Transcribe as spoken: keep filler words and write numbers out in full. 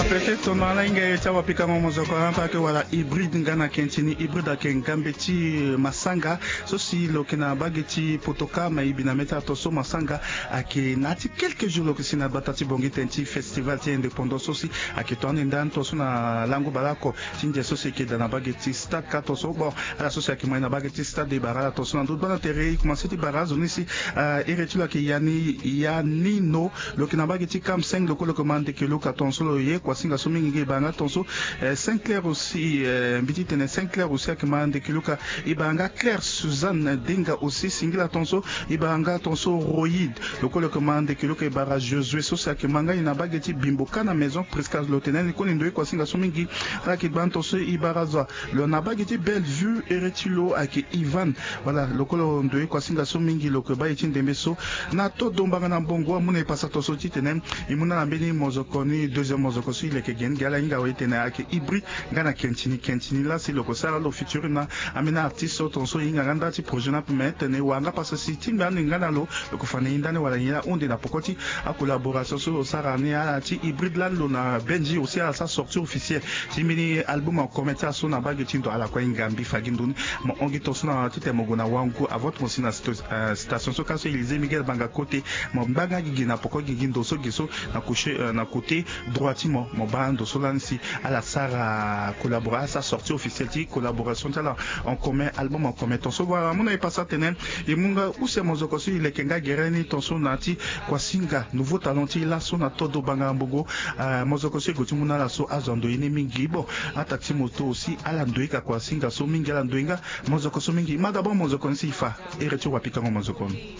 Pete tono ala hinga ye ti awapikango mozoko ampa ake wala hybride nga na kentini hybride ake ngambe ti masanga so si lo yeke na bage ti potoka ma e bi na mê ti ala tonso masanga ake na ya ti quelques jours lo yeke si na gbata ti bongi tene ti festival ti indépendance so si ake to ande ndani tonso na lango baleoko ti ndia so si eke daa na bage ti stade ka tonso bon ala so si ake ma ye na bage ti stade e bara ala tonso na ndo gbana tere e komanse ti bara azo ni si ere ti lo ake yani yanino lo yeke na bage ti kam seng lo kue lo yeke ma ndeke luka tonso lo ye kuasinga so mingi nge e bara nga tonso. Saint claire aussi mbi ti tene saint claire aussi ake ma ndeke luka e bara nga claire suzanne dinga aussi singila tonso e bara nga tonso royide lo kue lo yeke ma ndeke luka e bara josué so si ake ma nga ye na bage ti bimbo ka na maison prisca lo tene ni koni ndo ye kuasinga so mingi. Ala yeke gbani tonso e bara zo lo na bage ti belle vue ere ti lo ayeke ivan. Wala lo kue lo ndo ye kuasinga so mingi lo yeke baa ye ti ndembe so na todo mbanga na mbongo amu na e pasa tonso titene e mu na ala mbeni mozoko ni deuxième mozoko so e leke ge ni ge ala hinga awe titene ayeke hybride nga na kentini kentini laa si lo yeke sara lo future na ambeni artiste so tonso e hinga nga nda ti projet ni ape me tene e wara nga pasa si tingbi ande nga na lo lo yeke fa na e ndani wala nyen ahunde na poko ti acollaboration so lo sara ni ala ti hybride laa lo na benji aussi ala sara sortie officielle ti mbeni album en commun ti ala so na bage ti ndo ala kue ahinga mbi fa gi ndo ni. Mo hon gi tonso na titene mo gue na wangu avant ti mo si na station so ka so élysée miguel banga kote mo ngba nga gi gi na poko gi gi ndo so gi so na coucher na côté droit ti mo mo baa ndo so lani si ala sara collaboration ala sara sortie officielle ti collaboration ti ala en commun album en commun tonso wala amu na e pasa tene e mu nga use mozoko so e leke nga gere ni tonso na ya ti kuasinga nouveau talent ti e laso na todo banga mbongo. Mozoko so e gue ti mu na ala so azo ando ye ni mingi bon attaque ti moto aussi ala ndoye ka kuasinga so mingi ala ndoye nga mozoko so mingi ma d'abord mozoko ni si e fa ere ti wapikango mozoko ni.